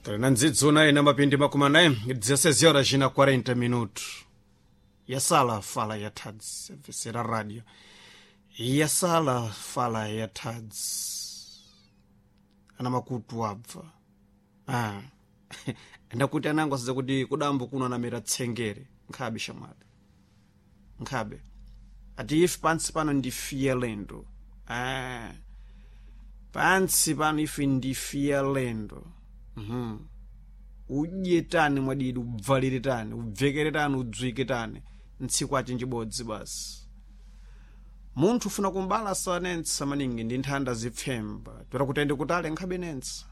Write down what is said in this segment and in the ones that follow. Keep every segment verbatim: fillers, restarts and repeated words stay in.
Tali ndzidzuna ina mapindi makumi anayi dezesseis horas na quarenta minutos. Yasala fala ya thadzi vesera radio. Yasala fala ya thadzi ana makutu abva. Ah. Ndakuti anango asadza kuti kudambo kuno anamera tsengere nkhabe shamwali nkhabe ati ife pansi pano ndifiye lendo. Ah. Pansi pano ife ndifiye lendo. Mm-hmm. Udye tani mwadidi, ubvalire tani, ubvekere tani, udzwike tani, ntsiku aci njibodzi basi. Munthu ufuna kumbala sanentsa maningi ndi nthanda zipfemba toera kuti ende kutali nkhabe nentsa.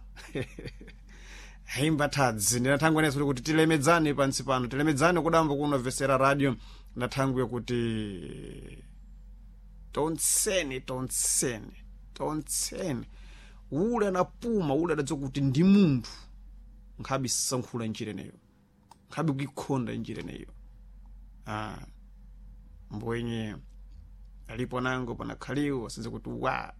Haimba thadzi ndinathangwe nenso kuti tilemedzane pansi pano, tilemedzane kudambo kuno vesera radio. Ndathangwe kuti tonseni tonseni tonseni ule anapuma ule adadziwa kuti ndi munthu nkhabe sankhula njira ineyo, nkhabe kuikhonda njira ineyo. Ah, mbwenye alipo nango panakhaliwo asenze kuti wa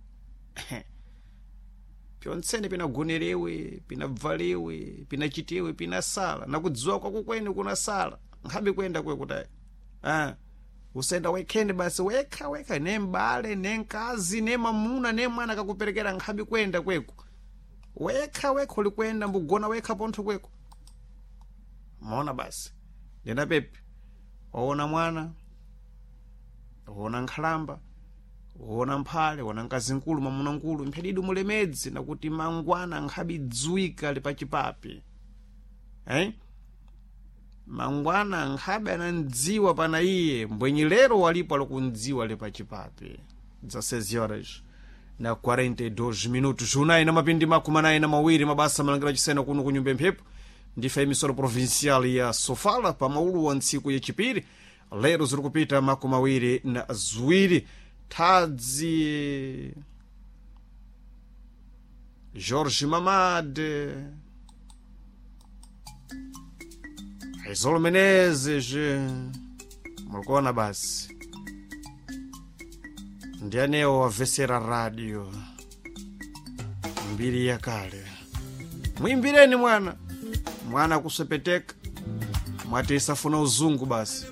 pyontsene pinagonerewe, pinabvalewe, pinachitewe, pinasala nakudziwa kwako kwene kunasala nkhabe kuyenda kwe kutayi. Ah, usenda wekhene basi wekha wekha ne mbale ne mkazi ne mamuna ne mwana kakuperekera nkhabe kuyenda kweko wekha wekha ulikwenda mbugona wekha pontho kweko maona basi ndenda pepe waona mwana, waona nkhalamba, waona mphale, waona mkazi nkulu, mamuna nkulu, mphedidu mulemedzi nakuti mangwana nkhabe dziwika li pachipapi eh? Mangwana nkhabe anandziwa pana iye mbwenyi lero walipo alikundziwa li pachipapi. dezesseis horas na quarenta e dois minutos, unayi na mapindi makumi anayi na mawiri mabasa malangira chisena kuno kunyumba mphepo ndife emisora provincial ya Sofala pamaulu wa ntsiku yachipiri lero ziri kupita makumi awiri na ziwiri. Thadzi Jorge Mamade, Aizolo Menezes, mulikuona basi ndianewo wavesera radio mbiri yakale. Mwimbireni mwana mwana kusepeteka mwati isafuna uzungu basi.